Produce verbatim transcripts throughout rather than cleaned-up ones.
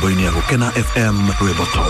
Mĩtambo-inĩ ya Gũkena F M Rwĩmbo Top.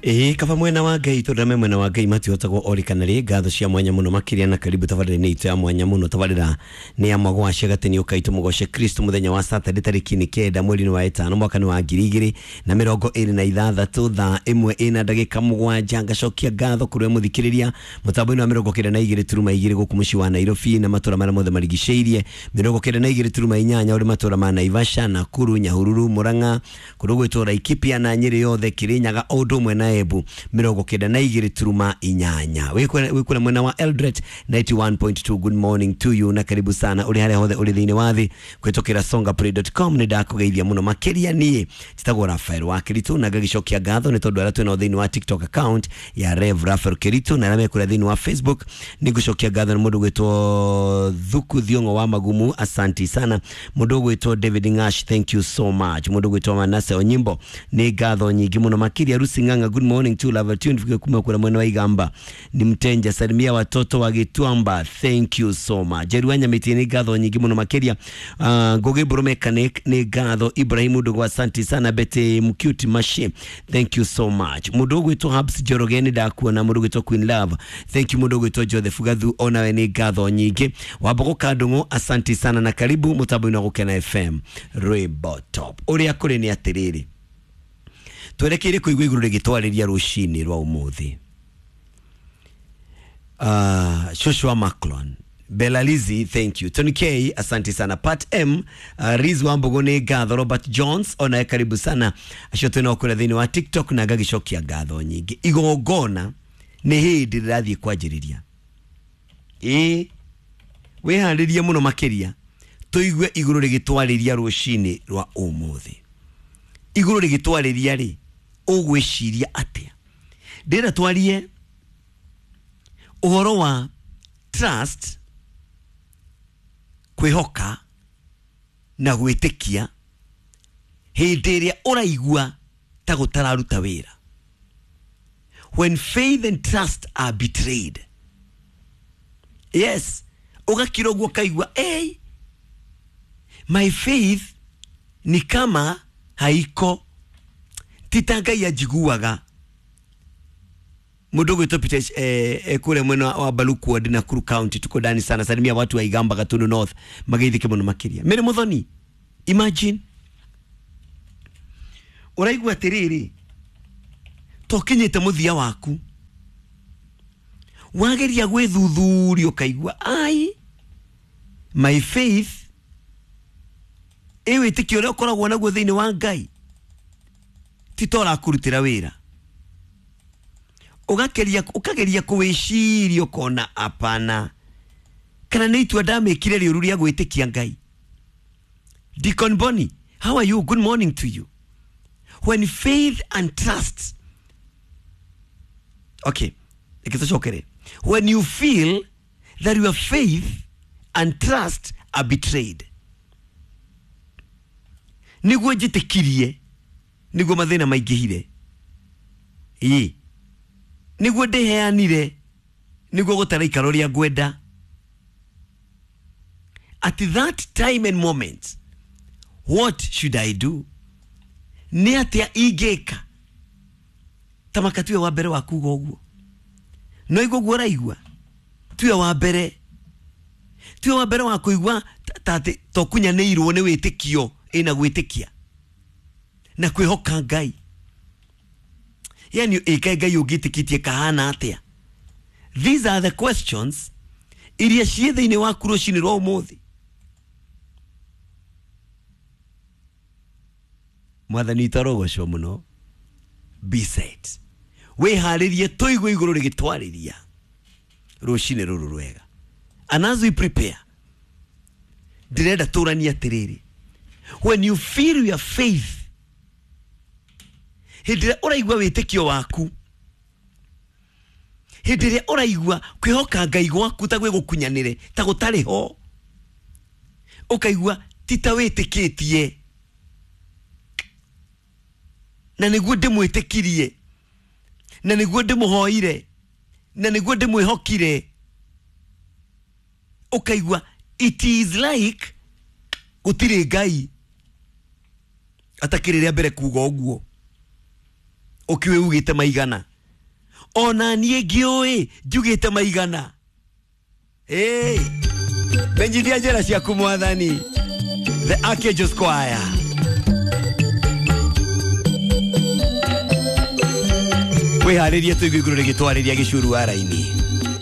Ĩĩ kaba mwena wa Ngai tondũ me mwena wa Ngai matihotagwo orikana rĩ ngatho cia mwanya mũno makĩria na karibu tabarĩra-inĩ itũ ya mwanya mũno tabarĩra nĩ ya Magwaca gatĩ ũkaitũ mũgoce Kristo mũthenya wa Saturday tarĩki nĩ kenda mweri-inĩ wa ĩtano mwaka-inĩ wa ngiri igĩrĩ na mĩrongo ĩrĩ na ithathatũ thaa ĩmwe ĩna ndagĩka mũgwanja. Ngacokia ngatho kũrĩ mũthikĩrĩria mũtambo-inĩ wa mĩrongo kenda na igĩrĩ turuma igĩrĩ gũkũ mũciĩ wa Nairobi na matũra marĩa mothe marigicĩirie mĩrongo kenda na igĩrĩ turuma inyanya ũrĩ matũra ma Naivasha, Nakuru, Nyahururu, Murang'a kũndũ gwĩtwo Laikipia na Nyĩrĩ yothe, Kirinyaga o ũndũ ũmwe na Embu mĩrongo kenda na igĩrĩ turuma inyanya. Wĩkũrĩa mwena wa Eldoret ninety one point two. Good morning to you na karibu sana ũrĩ harĩa hothe ũrĩ thĩinĩ wa thĩ kũhĩtũkĩra songaplay dot com. Nĩ ndakũgeithia mũno makĩria. Niĩ njĩtagwo Rafael wa Keritu na ngagĩcokia ngatho nĩ tondũ arĩa twĩnao thĩinĩ wa TikTok account ya Rev Rafael Keritu na arĩa mekũrĩa thĩinĩ wa Facebook nĩ ngũcokia ngatho nĩ mũndũ gwĩtwo Thuku Thiong'o wa Magumu, asanti sana. Mũndũ gwĩtwo David Ngash, thank you so much. Mũndũ gwĩtwo Manase Onyimbo, nĩ ngatho nyingĩ mũno makĩria. Rusi Ng'ang'a, good morning to love tune kuma kura mwena wa Igamba ni mtenja, salimia watoto wa Gituamba, thank you so much. Jeruanya miti ni ngatho nyingi muno makiria. uh, Ngoge Bro Mechanic ni ngatho. Ibrahim Ndogo, asante sana. Bete Mcute Mashi, thank you so much. Mundu gwitwo Habs Joroge ni ndakuona. Mundu gwitwo Queen Love, thank you. Mundu gwitwo Joseph Gathu, onawe ni ngatho nyingi. Wambogo Kandungu, asante sana na karibu mutambo-inĩ wa Gũkena F M Rwĩmbo Top. Ũrĩa kũrĩ nĩ atĩrĩrĩ, twerekeire kũigua igũrũ rĩgĩtwarĩria rũcinĩ rwa ũmũthĩ. Uh, Joshua Maclon, Belalizi, thank you. Tony K, asante sana. Pat M, uh, Riz Wambogo nĩ ngatho. Robert Jones, onawe karibu sana. Acio twĩnao kũrĩa thĩinĩ wa TikTok na ngagĩcokia ngatho nyingĩ. Igongona nĩ hĩndĩ rĩrathiĩ kwanjĩrĩria. Ĩĩ, wĩharĩrie mũno makĩria tũigue igũrũ rĩgĩtwarĩria rũcinĩ rwa ũmũthĩ. Igũrũ rĩgĩtwarĩria rĩ, ũgwĩciria atĩa? Ndĩrenda twarie ũhoro wa trust, kwĩhoka na gwĩtĩkia hĩndĩ ĩrĩa ũraigua ta gũtararuta wĩra. When faith and trust are betrayed. Yes, ũgakira ũguo ũkaigua, hey, my faith ni kama haiko, ti ta Ngai anjiguaga. Mundu gwitwo Peter eh, eh, kule mwena wa Baluku wa Nakuru County, tuko ndani sana. Salimia watu wa Igamba, Gatundu North, mageithike muno makiria. Mary Muthoni, imagine uraigua atiriri tokinyite muthia waku wageria gwithuthuria ukaigua ai my faith ĩ wĩtĩkio ũrĩa ũkoragwo naguo thĩinĩ wa Ngai ti ta ũrakũrutĩra wĩra. Ũgakeria ũkageria kũwĩciria ũkona apana, kana nĩ itua ndamĩkire rĩũru rĩa gwĩtĩkia Ngai. Deacon Bonnie, how are you? Good morning to you. When faith and trust, okay, reke tũcokere. When you feel that your faith and trust are betrayed, nĩguo njĩtĩkirie, nĩguo mathĩna maingĩhire, ĩĩ, nĩguo ndĩheanire, nĩguo gũtaraikara ũrĩa ngwenda. At that time and moment, what should I do? Nĩ atĩa ingĩka? Ta maka tuwe wa mbere wa kuga ũguo, no igua ũguo ũraigua, tuwe wa mbere, tuwe wa mbere wa kũigua ta atĩ tokunyanĩirwo nĩ wĩtĩkio ĩna gwĩtĩkia na kwĩhoka Ngai. Yani ĩkae Ngai ũngĩtĩkĩtie kahana atĩa? These are the questions iria ciĩ thĩinĩ waku rũcinĩ rwa ũmũthĩ. Mwathani witũ arogocwo mũno. Be set, wĩharĩrie tũigue igũrũ rĩgĩtwarĩria rũcinĩ rũrũ rwega. And as we prepare, ndĩrenda tũranie atĩrĩrĩ, when you feel your faith, hĩndĩ ĩrĩa ũraigua wĩtĩkio waku, hĩndĩ ĩrĩa ũraigua kwĩhoka Ngai gwaku ta gwĩgũkunyanĩre, ta gũtarĩ ho, ũkaigua ti ta wĩtĩkĩtie na nĩguo ndĩmwĩtĩkirie, na nĩguo ndĩmũhoire, na nĩguo ndĩmwĩhokire, ũkaigua it is like gũtirĩ Ngai. Atakĩrĩ rĩa mbere kuga ũguo. Ũkiũĩ ugĩte maigana. Ona niĩ ngĩũĩ njugĩte maigana. Hey, menyithia njĩra ciaku mwathani. The Archangels Choir. Wĩharĩrie tũigue igũrũ rĩgĩtwarĩria gĩcuru wa raini.